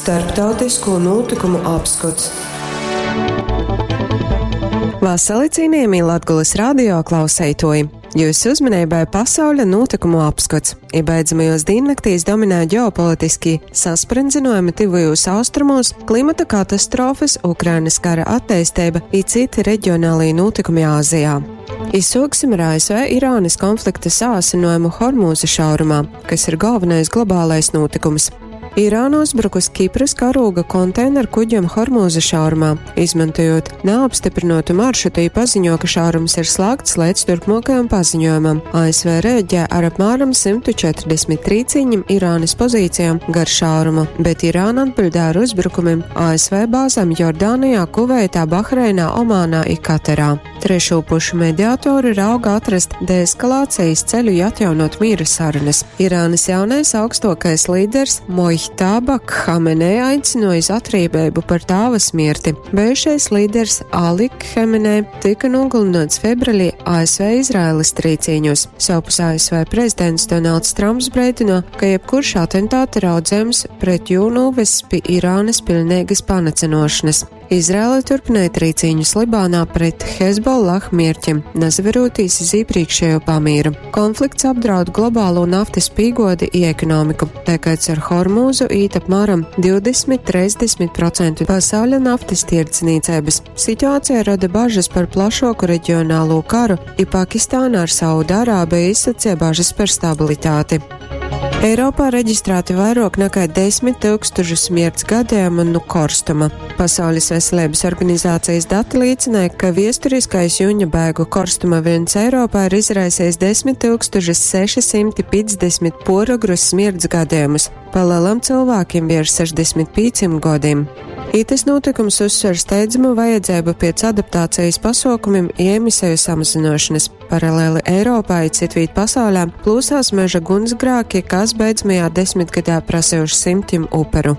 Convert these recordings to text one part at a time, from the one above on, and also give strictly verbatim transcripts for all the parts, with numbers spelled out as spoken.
Starptautisko nūtykumu apskots. Vasali, cienījamie Latgulas radio klauseitoji! Jūsu uzmanībai pasauļa notikumu apskats. I beidzamajos diennaktīs dominē ģeopolitiski sasprindzinojumi tuvajos austrumos, klimata katastrofas, Ukrainas kara attīstība i citi reģionālie notikumi Āzijā. Izsūksim ar A S V Irānas konflikta sāsinājumu Hormūza šaurumā, kas ir galvenais globālais notikums. Irāna uzbrukus Kipras karūga konteineru kuģiem Hormūza šaurumā. Izmantojot neapstiprinotu maršrutu, paziņo, ka šaurums ir slēgts līdz turpmākajam paziņojumam. A S V rēģē ar apmēram simt četrdesmit trīcīņiem Irānas pozīcijām gar šaurumu, bet Irāna atbildē ar uzbrukumiem A S V bāzēm Jordānijā, Kuveitā, Bahreinā, Omānā i Katarā. Trešo pušu mediātori rauga atrast deeskalācijas ceļu i atjaunot miera sarunas. Irānas jaunais augstākais līderis Mojtaba Khamenei aicināja uz atriebību par tāva smirti. Bijušais līderis Ali Khamenei tika nogalināts februārī A S V Izraēlas trīcīņos. Savpus A S V prezidents Donalds Trumps brēdino, ka jebkurš atentāta raudzējums pret jū novess pie Irānas pilnīgas panacinošanas. Izraela turpināja trīcīņus Libānā pret Hezbollah mierķim, nazaverotīs iz iepriekšējo pamīru. Konflikts apdraud globālo naftas pīgodi i ekonomiku, tā kā caur Hormūzu īt apmēram divdesmit trīsdesmit procenti pasauļa naftas tirdzniecības. Situācija rada bažas par plašāku reģionālo karu, i Pakistāna ar Saudārābiju izsacīja bažas par stabilitāti. Eiropā reģistrēti vairāk nekā desmit tūkstoši smirts gadījumu nu korstuma. Pasaules veselības organizācijas dati liecināja, ka viesturiskais juņa bēgu korstuma vilnis Eiropā ir izraisījis desmit tūkstoši sešsimt piecdesmit porogrus smirts gadījumus, pa lielam cilvēkiem virs sešdesmit pieciem gadiem. Itis notikums uzsver steidzamu vajadzību pēc adaptācijas pasaukumiem i emisiju samazināšanas. Paralēli Eiropā i citvīt pasaulē plūsās meža gunsgrāki, kas beidzamajā desmitgadā prasījuši simtiem uperu.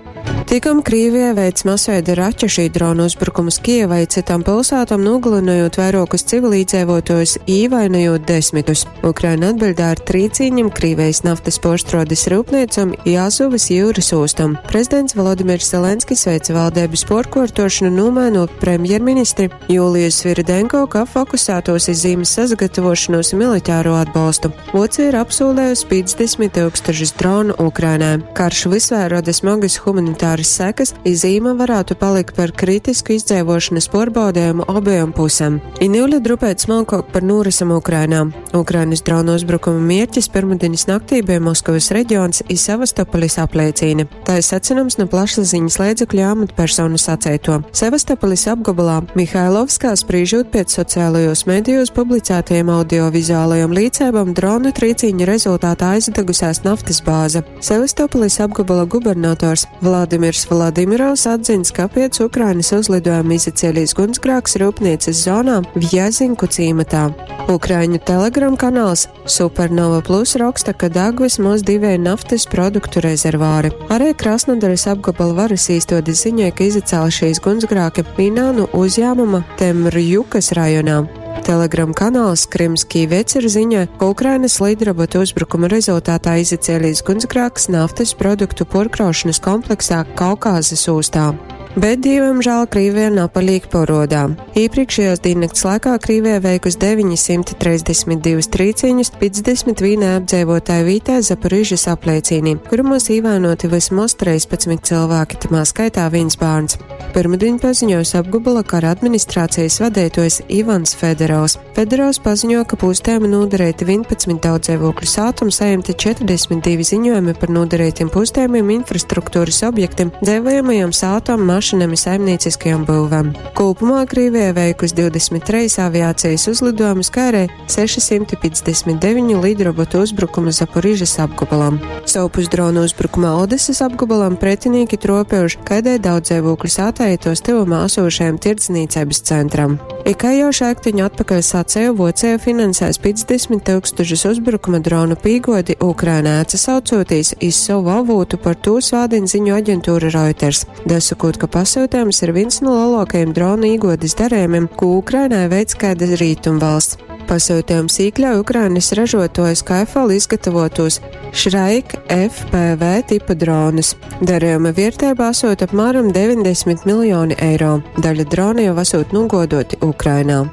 Tikam Krīvija veic masveida raķešu dronu uzbrukumus Kijevai citām pilsētām, nogalinojot vairākus civilīdzīvotājus, īvainojot desmitus. Ukraina atbildē ar trīcīņiem Krīvijas naftas porštrodes rūpniecam i Azovas jūras ostam. Prezidents Volodimirs Zelenskis veica valdības porkortošanu, nomainot premjerministri Jūliju Sviridenko, ka fokusētos iz zīmes sagatavošanos militāro atbalstu. Vocija ir apsolējusi piecdesmit tūkstošus dronu Ukrainai. Karš visvēr rada smagas humanitāras sekas, i zīme varētu palikt par kritisku izdzīvošanas porbaudējumu abajām pusēm. I niule drupēt smalkāk par norisam Ukrainā. Ukrainas dronu uzbrukuma mierķis pirmdienas naktī bija Moskavas reģions i Sevastopolis apliecīne. Tā ir secinams no plašsaziņas līdzekļu amatpersonu sacēto. Sevastopolis apgabalā Mihailovskā, sprīžot pēc sociālajos medijos publicētajiem audiovizuālajiem līdzībām, dronu trīcīņu rezultātā aizdegusies naftas bāze. Sevastopolis apgabala gubernators Vladimirs Vladimirovs atzins, ka pēc Ukrainas uzlidojuma izacēlīs gunsgrāks rūpnīcas zonā Vjazinku cīmatā. Ukraiņu Telegram kanāls Supernova Plus raksta, ka deg vismaz divi naftas produktu rezervāri. Arī Krasnodaras apgabala varas īstodes ziņoja, ka izacēla šīs gunsgrāki Minānu uzņēmuma Temrjukas rajonā. Telegram kanāls Krimskij Vecer ziņoja, ka Ukrainas lidrobotu uzbrukuma rezultātā izacēlīs gunsgrāks naftas produktu porkraušanas kompleksā Kaukāzes ūstā. Bet, dievamžēl, Krīvija napalīk porodā. Iepriekšējos diennakts laikā Krīvija veikus deviņsimt trīsdesmit divus trīciņus piecdesmit vienā apdzīvotāju vītē Zaporižas apliecīnī, kurumos īvainoti vismaz trīspadsmit cilvēki, tamā skaitā viens bērns. Pirmdien paziņojis apgabala kara administrācijas vadītājs Ivans Federovs. Federovs paziņo, ka pūstējumi nodarīti vienpadsmit daudzdzīvokļu sātum, saņemti četrdesmit divi ziņojumi par nodarītiem pūstējumiem infrastruktūras objektiem, dzīvojamajām sātām, mašīnām un saimnieciskajām būvēm. Kopumā Krīvija veikusi divdesmit trīs aviācijas uzlidojumus, kā arī sešsimt piecdesmit deviņu lidrobotu uzbrukumu Zaporižas apgabalam. Savpus dronu uzbrukumā Odesas apgabalam pretinieki tropējuši kaidai daudzdzīvokļu sātai tos tuvumā esošajam tirdzniecības centram. I kā jau šaiktiņu atpakaļ sacēju, Vocija finansēs piecdesmit tūkstošus uzbrukuma dronu pīgodi Ukrainā, atsaucoties iz savu avūtu par to svādin ziņu aģentūra Reuters. Dasakot, ka pasūtījums ir viens no lielākajiem dronu īgodes darījumiem, ko Ukrainai veic kāda rietumvalsts. Pasyutejums īkļauj Ukrainas ražotuoja Skyfall izgatavotos Shrike F P V tipa dronus. Darījuma vierteiba esot apmēram deviņdesmit miljoni eiro. Daļa drona jau esot nugodoti Ukrainā.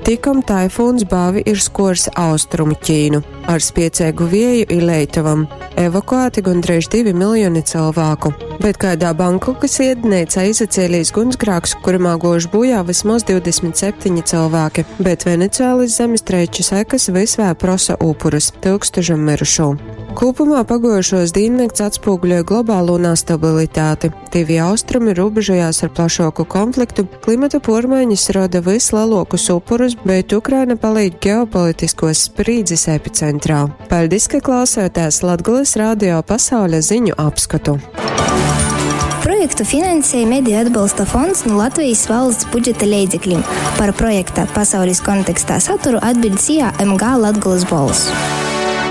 Tikom taifūns Bāvi ir skors austrumu Ķīnu ar spiecīgu vieju i leitovam. Evakuēti gandrīz divi miljoni cilvēku. Bet kādā Bankokas iednīcā izacēlīs gunsgrāks, kuramā gož bojā vismaz divdesmit septiņi cilvēki, bet Venecuēlas zemestrēču sekas vis vēl prosa upurus – tūkstošam mirušo. Kopumā pagojušos dīnnakts atspūguļoja globālo nestabilitāti. Tivi austrumi robežojās ar plašāku konfliktu, klimata pormaiņas roda vislielākus upurus, bet Ukraina paliek ģeopolitiskos sprīdzes epicentrā. Paldies, ka klausāties Latgulas radio pasaules ziņu apskatu. Projektu finansēja Mediju atbalsta fonds no Latvijas valsts budžeta leidzekļiem. Par projekta pasaules kontekstā saturu atbild S I A M G Latgulas Bolss.